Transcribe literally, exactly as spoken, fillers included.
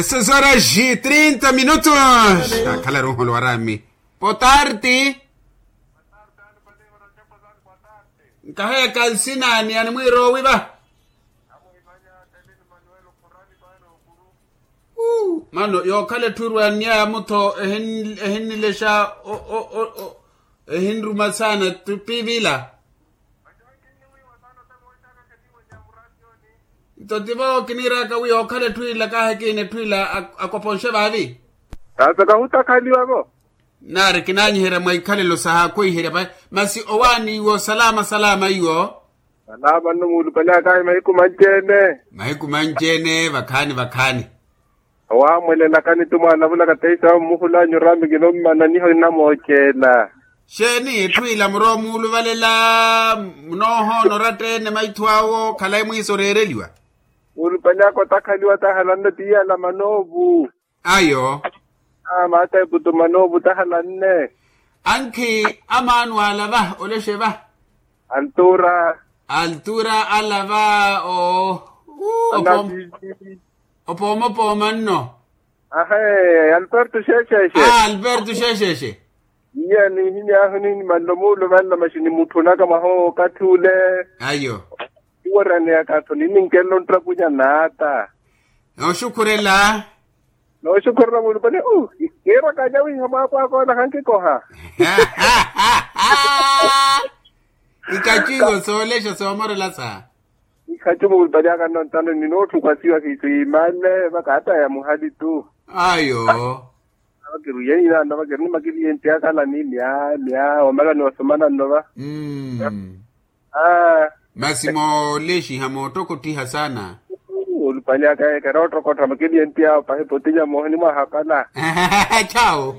Seis horas e trinta minutos. Akhala ruholo warami. Boa tarde. Nkaheya kalsinaani animwiirowi va. Mano yookhala etthu erwannyaya mutho ehinnilexa ehinruma saana. Tupivila. Nto tivo kiniiraka wi yookhala etthu ila kahi kiina etthu ila akoponxe vaavi. Taasa kahutakhaliwa vo. Naari kinaanyiherya mwa ikhalelo saha khwiiherya masi owaani iwo salama salama iwo. Salama nno muulupale akahi mahiku manci-ene. Mahiku manci-ene vakhaani vakhaani. Owaamwelelakani tu mwaanavulaka teisawo mmuhul'anyu oraami kinommana niho nnamoocela. Xeeni etthu ila murowa muuluvalela? Munoohoona oratta-ene maithu awo khalayi mwiisa oreereliwa. Muulupale aka otakhaliwa tahalanne tiyala manoovu. Ayo. Maata eputu manoovu tahalanne. Ankhi amaano alava olexe va. Altura. Altura alava o. Opoomapooma nno. Ahe. Alberto xexexe. Alberto xexexe. Iya nihiny'ahu nihimanle omuuluvanla maxi nimutthunaka mwaha okathi ule. Ayo. Iworaneyaka-tho nininkenle onttapunya naata. Nooxukhurela. Nooxukhurela muulupale. Kiiraka nyawiha mwaako akoona hankikoha. Ikhacu iwo soolexa soomorela sa. Ikhacu muulupale aka nnontano ninootthukwasiwa kiisu yiimale vaka ata ya muhali tu. Ayo. Vakiri uyeni naano vakiri nimakiliye ntti akhala ni mya mya omala ni osomana nno va. Masi moolexiha moottokottiha saana. Olupale aka ekera ottokottha makeliye ntti awo pahi potinya moohoni mwahapala. Chawo.